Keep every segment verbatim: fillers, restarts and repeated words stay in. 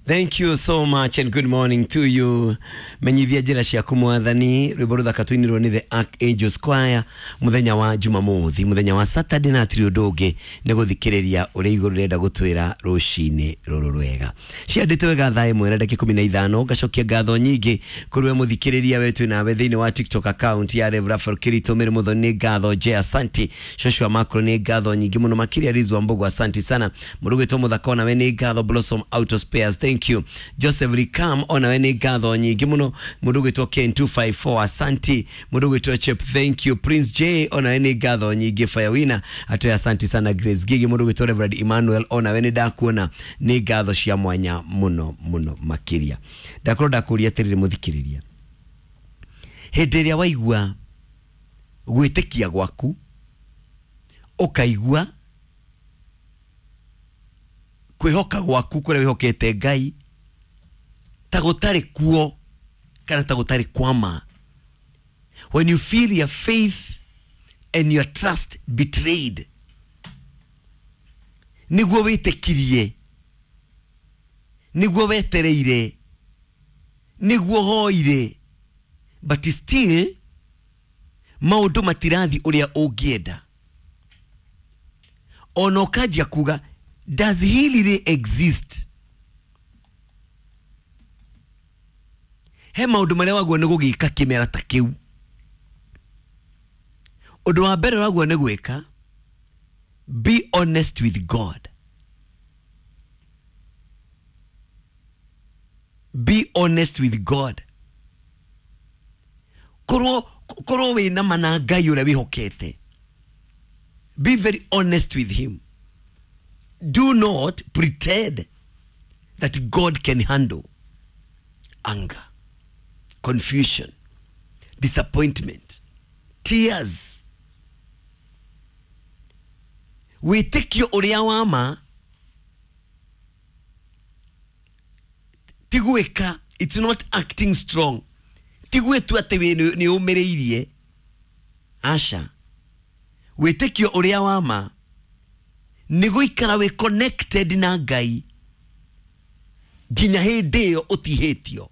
Thank you so much and good morning to you. Menyithia njĩra ciaku Mwathani, rwĩmbo rũthaka tũinirwo nĩ the Archangels Choir mũthenya wa Jumamothi, mũthenya wa Saturday, na hatirĩ ũndũ ũngĩ nĩ gũthikĩrĩria ũrĩa igũrũ rĩrenda gũtwĩra rũcinĩ rũrũ rwega. Ciandĩtwo wega thaa ĩmwe na ndagĩka ikũmi na ithano. Ngacokia ngatho nyingĩ kũrĩ we mũthikĩrĩria we twĩ nawe thĩinĩ wa TikTok account ya Rev Raphael Kirito Mĩrĩ Mũthoni, nĩ ngatho J asanti, Joshua Makro nĩ ngatho nyingĩ mũno makĩria, Rizwa Mbogo asanti sana, mũrugĩtwo mũthaka onawe nĩ ngatho, Blossom Auto Spares thank you, Joseph Rikam onawe nĩ ngatho nyingĩ mũno, mũndũ ũgwĩtwo Ken two five four asanti, mũndũ ũgwĩtwo Chep thank you, Prince J onawe nĩ ngatho nyingĩ, Fire Winner atoe asanti sana, Grace Gigi, mũndũ ũgwĩtwo Reverend Emmanuel onawe nĩ ndakuona, nĩ ngatho cia mwanya mũno mũno makĩria. Ndakorwo ndakũria atĩrĩrĩ mũthikĩrĩria, hĩndĩ ĩrĩa waigua gwĩtĩkia gwaku, ũkaigua kwĩhoka gwaku kũrĩa wĩhokete Ngai ta gũtarĩ kuo kana ta gũtarĩ kwama, when you feel your faith and your trust betrayed, nĩguo wĩtĩkirie, nĩguo wetereire, nĩguo hoire, but still maũndũ matirathi ũrĩa ũngĩenda, ona ũkanjia kuga does he really exist? He maũndũ marĩa waguo nĩ gũgĩka kĩmera ta kĩu. Ũndũ wa mbere waguo nĩ gwĩka, be honest with God. Be honest with God. Korwo korwo wĩna ma na Ngai ũrĩa wĩhokete, be very honest with him. Do not pretend that God can handle anger, confusion, disappointment, tears. Wĩtĩkio ũrĩa wa ma ti gwĩka, it's not acting strong, ti gwĩtua atĩ nĩ ũmĩrĩirie, aca. Wĩtĩkio ũrĩa wa ma nĩ gũikara wĩ connected na Ngai nginya hĩndĩ ĩyo ũtihĩtio.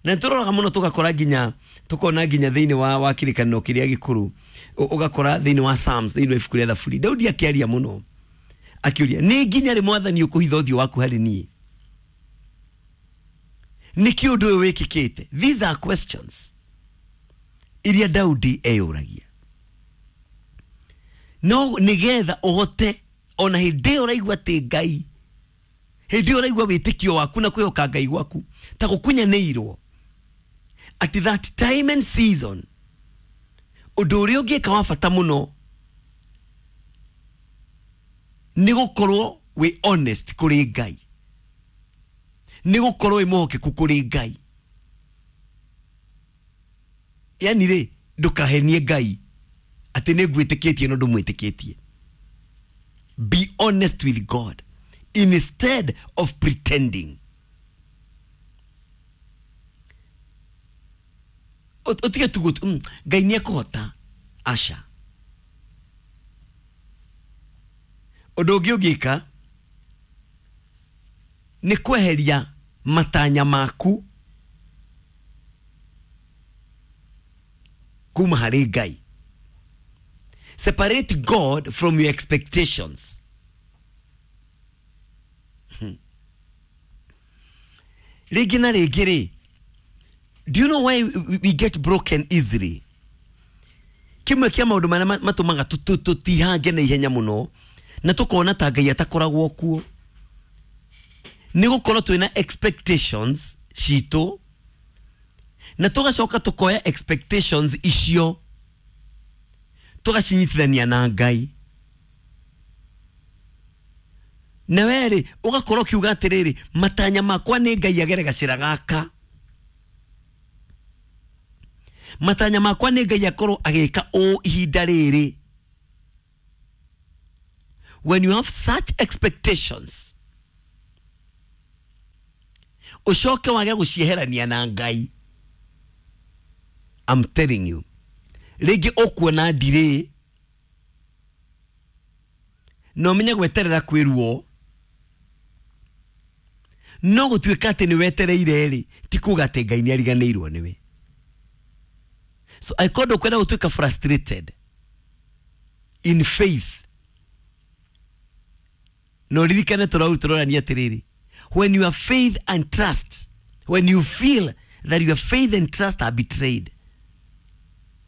Na tũroraga mũno tũgakora nginya tũkona nginya thĩinĩ wa wa kĩrĩkanĩro kĩrĩa gĩkũrũ, ũgakora thĩinĩ wa Psalms, thĩinĩ wa ibuku rĩa Thaburi, Daudi akĩaria mũno akĩũria, nĩ nginya rĩ Mwathani ũkũhitha ũthiũ waku harĩ niĩ? Nĩkĩ ũndũ ũyũ wĩkĩkĩte? These are questions iria Daudi eyũragia. No nĩgetha ũhote ona hĩndĩ ĩyo ũraigua atĩ Ngai, hĩndĩ ĩyo ũraigua wĩtĩkio waku na kwĩhoka Ngai gwaku ta gũkunyanĩirwo, at that time and season, ũndũ ũrĩa ũngĩka wa bata mũno nĩ gũkorwo wĩ honest kũrĩ Ngai, nĩ gũkorwo wĩ mwĩhokeku kũrĩ Ngai. Yani rĩ, ndũkahenie Ngai atĩ nĩ ngwĩtĩkĩtie no ndũmwĩtĩkĩtie. Be honest with God instead of pretending. Ũtige tu gũtu Ngai nĩ ekũhota, aca. Ũndũ ũngĩ ũngĩka nĩ kweheria matanya maku kuma harĩ Ngai. Separate God from your expectations. Rĩngĩ na rĩngĩ rĩ, do you know why we get broken easily? Kĩmwe kĩa maũndũ marĩa matũmaga tũtihange na ihenya mũno na tũkona ta Ngai atakoragwo kuo nĩ gũkorwo twĩna expectations citũ na tũgacoka tũkoya expectations icio tũgacinyitithania na Ngai. Na werĩ ũgakorwo ũkiuga atĩrĩrĩ, matanya makwa nĩ Ngai agere gacĩra gaka, matanya makwa nĩ Ngai akorwo agĩka ũũ ihinda rĩrĩ. When you have such expectations, ũcoke wage gũcieherania na Ngai, I'm telling you, rĩngĩ ũkuona ndirĩ na ũmenye gweterera kwĩ ruo. No gũtuĩka atĩ nĩ wetereire rĩ, ti kuga atĩ Ngai nĩ ariganĩirwo nĩwe. So angĩkorwo ndũkwenda gũtuĩka frustrated in faith, no ririkane tũrau tũrorania atĩrĩrĩ, when your faith and trust, when you feel that your faith and trust are betrayed,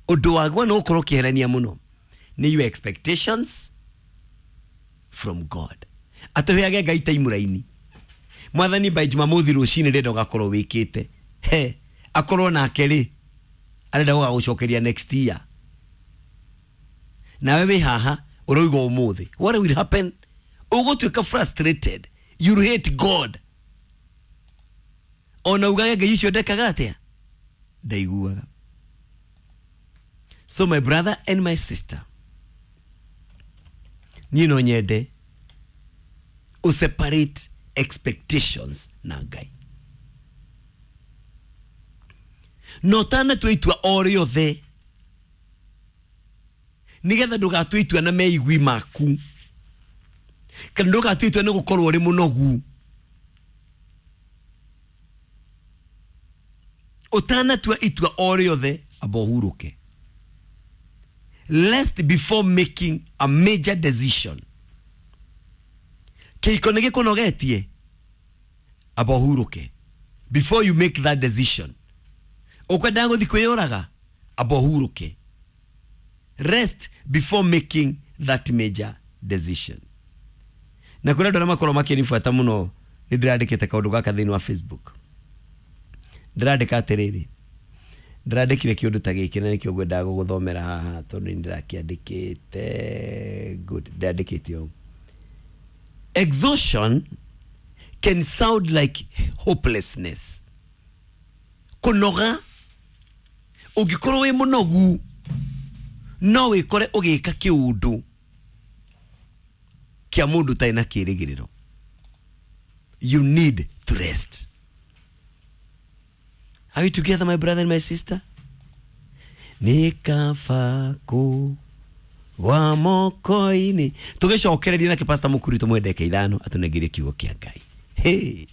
ũndũ wagwo nĩ gũkorwo ũkĩherania mũno nĩ your expectations from God. Atũheage Ngai timeline. Mwathani by Jumamothi rũcinĩ ndĩrenda ũgakorwo wĩkĩte. He, akorwo nake rĩ, arenda gũgagũcokeria next year. Nawe wĩ haha ũroiga ũmũthĩ. What will happen? Ũgũtuĩka frustrated. You hate God. Ona ugage Ngai ũcio ndekaga atĩa? Ndaiguaga. So my brother and my sister, niĩ no nyende ũ separate expectations na Ngai. No ũtanatua itua o rĩothe, nĩgetha ndũgatue itua na meigui maku, kana ndũgatue itua nĩ gũkorwo ũrĩ mũnogu. Ũtanatua itua o rĩothe, amba ũhurũke. Lest before making a major decision, kĩhiko nĩ gĩkũnogetie, amba ũhurũke. Before you make that decision, ũkwendaga gũthiĩ kwĩyũraga, amba ũhurũke. Rest before making that major decision. Na kũrĩ andũ arĩa makorwo makĩnibuata mũno, nĩ ndĩrandĩkĩte kaũndũ gaka thĩinĩ wa Facebook. Ndĩrandĩka atĩrĩrĩ, ndĩrandĩkire kĩũndũ ta gĩkĩ na nĩkĩo ngwendaga gũgũthomera haha tondũ nĩ ndĩrakĩandĩkĩte. Good, ndĩrandĩkĩte ũũ. Exhaustion can sound like hopelessness. Kũnoga, ũngĩkorwo wĩ mũnogu, no wĩkore ũgĩka kĩũndũ kĩa mũndũ ũtarĩ na kĩrĩgĩrĩro. You need to rest. Are we together, my brother and my sister? Nĩ kaba kũgwa moko-inĩ. Tũgĩcokereria nake Pastor Mũkuri tũmwendeke ithano atũnengerie kiugo kĩa Ngai. Hey.